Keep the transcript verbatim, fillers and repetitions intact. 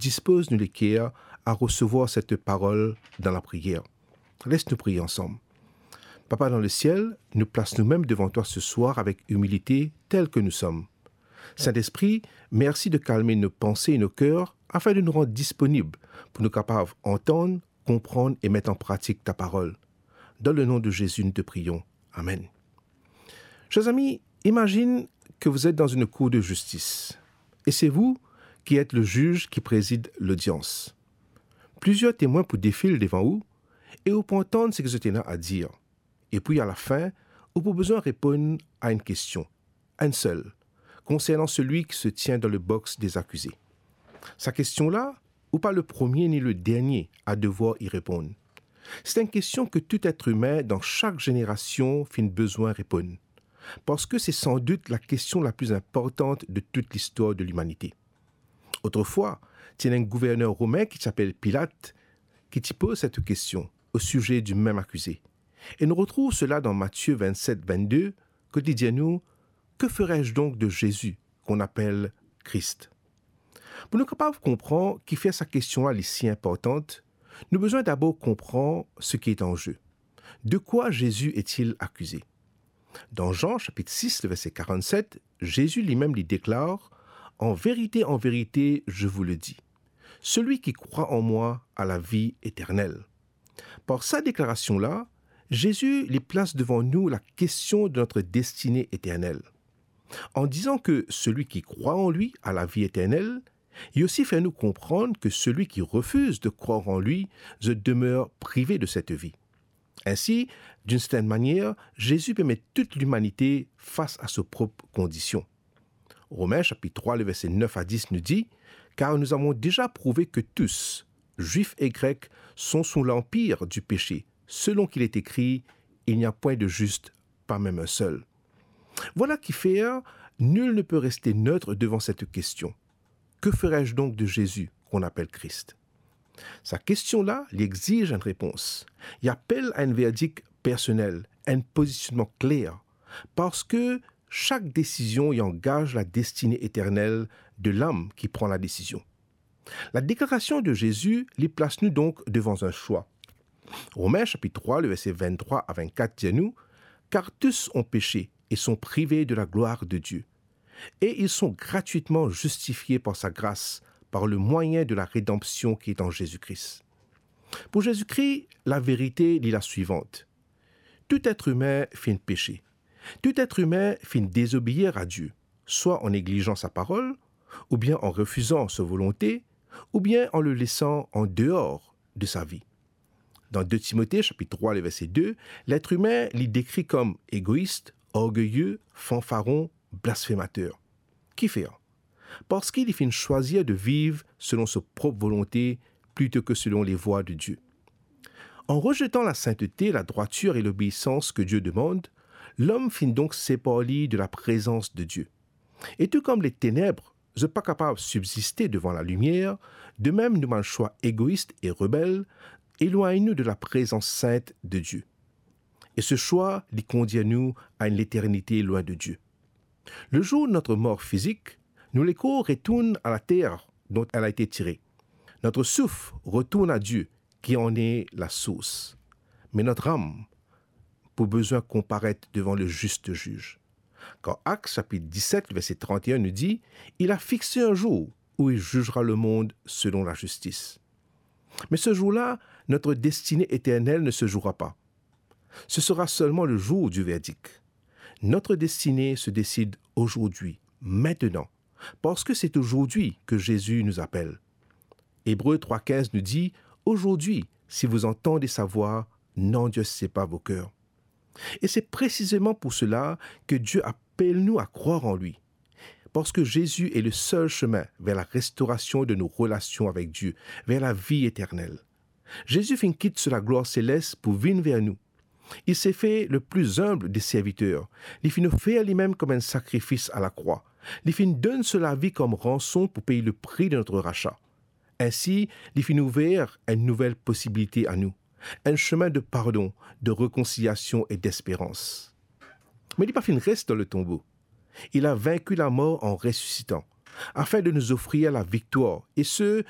dispoz nou leker a resevwar set parol dan lapriyer. Les nou priye ansam. Papa dan lesiel, nou plas noumem devan twa seswar avek imilite tel ke nou som. Sintespri, mersi de kalme nou panse e nou ker, afin de nou rant disponib pou nou kapav antann, konprann e met an pratik ta parol. Dan le nom de Jésus, nous te prions. Amen. Chers amis, imagine que vous êtes dans une cour de justice et c'est vous qui êtes le juge qui préside l'audience. Plizier temwin pou defil devan ou e ou pou antann seki zot ena a dir. Epi alafin, ou pou bizin reponn a enn kestion, enn sel, konsernan selwi ki se tien dan le box des accusés. Sa kestion la, ou pa le premie ni le dernie a devwar y reponn. Se enn kestion ke tou et imin dan sak zenerasion finn bizin reponn, parski se sandout la kestion la pli inportan de tout listwar de limanite. Otrefwa, ti ena enn gouverner romin ki ti apel Pilat, ki ti poz set kestion o size di mem akize. E nou retrouv sela dan Matie vennset vennde, kot li dir nou, "Que ferai-je donc de Jésus qu'on appelle Christ?" Pou nou kapav konpran kifer sa kestion la li si inportan, nou bizin dabor konpran seki an ze. De quoi Jésus est-il accusé? Dan Jean chapitre six, le verset quarante-sept, Jésus lui-même lui déclare, "En vérité, en vérité, je vous le dis, celui qui croit en moi a la vie éternelle." Par sa deklarasion la, Zezi li plas devan nou la kestion de notre destinée éternelle. En disant que celui qui croit en lui a la vie éternelle, li osi fer nou konpran que celui qui refuse de croire en lui, zot demer prive de cette vie. Ainsi, d'une certaine manière, Jésus pe met tout limanite fas a so prop kondision. Romin chapitre trois, le verset neuf à dix nous dit, "Car nous avons déjà prouvé que tous, Juifs et Grecs, sont sous l'empire du péché, selon qu'il est écrit, il n'y a point de juste, pas même un seul." Vwala kifer nul ne peut rester neutre devant cette question. Que ferai-je donc de Jésus qu'on appelle Christ? Sa kestion la, li exiz enn repons. Li apel a enn verdik personel, enn pozisionnman kler, parski sak desizion li angaz la destine eternel de lam ki pran la desizion. La deklarasion de Zezi li plas nou donk devan enn swa. Romin chapitre trois, le verset vingt-trois à vingt-quatre dir nou, "Car tous ont péché et sont privés de la gloire de Dieu. Et ils sont gratuitement justifiés par sa grâce, par le moyen de la rédemption qui est en Jésus-Christ." Pou Zezi Kri, laverite li la swivant. Tou et imin finn pese. Tou et imin finn dezobeir a Die, swa an neglizan sa parol, oubien an refizan so volonte, oubien an le lesan an deor de sa vi. Dan deux Timote chapitre trois, le verset deux, et imin li dekri kom egois, orgeye, fanfaron, blasfemater. Kifer? Parski li finn swazir de viv selon so prop volonte plito ki selon lavwa de Die. An rezetan lasintete, ladrwatir e lobeisans ki Die demann, lom finn donk separ li de laprezans de Die. E tou kom leteneb zot pa kapav sibziste devan lalimier, de mem nou bann swa egois e rebel elwagn nou de laprezans sint de Die. E se swa li kondir nou a enn leternite lwin de Die. Le jour de notre mort physique, nou lekor retourn a later dont elle a été tirée. Notre souffle retourne à Dieu, qui en est la source. Mais notre âme pou bizin konparet devan le juste juge. Kan Actes chapitre dix-sept, le verset trente et un nous dit, "Il a fixé un jour où il jugera le monde selon la justice." Mais ce jour-là, notre destinée éternelle ne se jouera pas. Ce sera seulement le jour du verdict. Notre destinée se décide aujourd'hui, maintenant, parce que c'est aujourd'hui que Jésus nous appelle. Hébreux trois quinze nous dit, "Aujourd'hui, si vous entendez sa voix, n'endurcissez pas vos cœurs." Et c'est précisément pour cela que Dieu appelle nous à croire en lui. Parce que Jésus est le seul chemin vers la restauration de nos relations avec Dieu, vers la vie éternelle. Zezi finn kit so laglwar selest pou vinn ver nou. Il s'est fait le plus humble des serviteurs. Li finn ofer limem kom enn sakrifis a lakrwa. Li finn donn so lavi kom ranson pou pey le pri de notre rachat. Ainsi, li finn ouver enn nouvel posibilite a nou, enn semin de pardon, de réconciliation et d'espérance. Me li pa finn res dan le tonbo. Il a vaincu la mort en ressuscitant. afin de nous offrir la victoire, et ce,